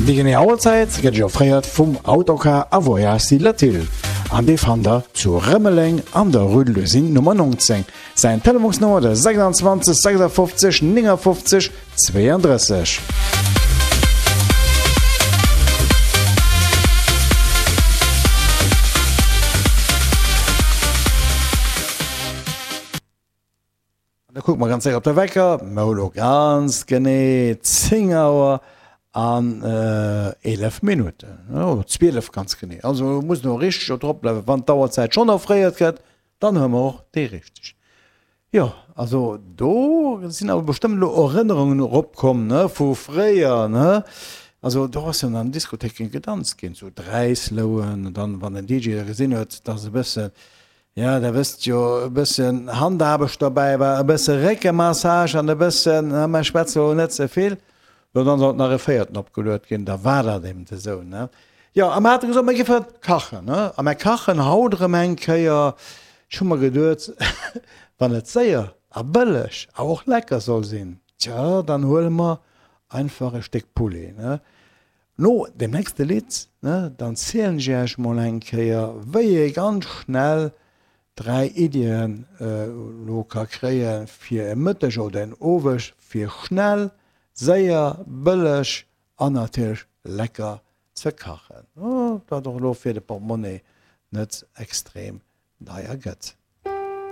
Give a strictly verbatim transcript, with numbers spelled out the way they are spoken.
Déi genee Auerzäit gëtt Iech offréiert vum Autocar a Voyage Latil an dee fannt der zu Rëmeleng an der Rue de l'Usine Nummer neunzéng. Säin Telefonsnummer de sechsundzwanzeg sechsundfünfzig neunundfünfzig zweiunddrësseg. An da kucke mer ganz séier op de Wecker, mer hu lo ganz genee zéng Auer an eelef Minutten, oder zwielef ganz genee. Also muss elo richteg drop bleiwen, wann d'Auerzäit schonn offréiert gëtt, dann hu mer och déi richteg. Jo, also do sinn awer bestëmmt elo Erënnerungen eropkomm, ne, vu fréier, ne. Also do ass jo an den Diskothéiken gedanzt ginn, zu Dräislouen, an dann, wann den D J da gesinn huet, dass e bësse, ja, der wësst jo, e bëssen Handaarbecht dobäi war, e bësse Réckemassage an e bëssen, na, mer schwätze lo net ze vill, jo, dann sollt nach e Véierten opgeluet ginn, da war dat eben esou, ne. Jo, a mer hate gesot, mer géife kachen, ne, a mer kachen haut erëm eng Kéier. Ech hu mer geduet, wann et séier a bëlleg a och lecker soll sinn, tja, dann huele mer einfach e Stéck Poulet, ne. No dem nächste Lidd, ne, dann zielen ech Iech mol eng Kéier, wéi ee ganz schnell dräi Iddien elo ka kréie fir e Mëtteg oder en Oweg, fir schnell, séier, bëlleg an natierlech lecker ze kachen, wat och elo fir de Portemonnaie net extrem deier gëtt.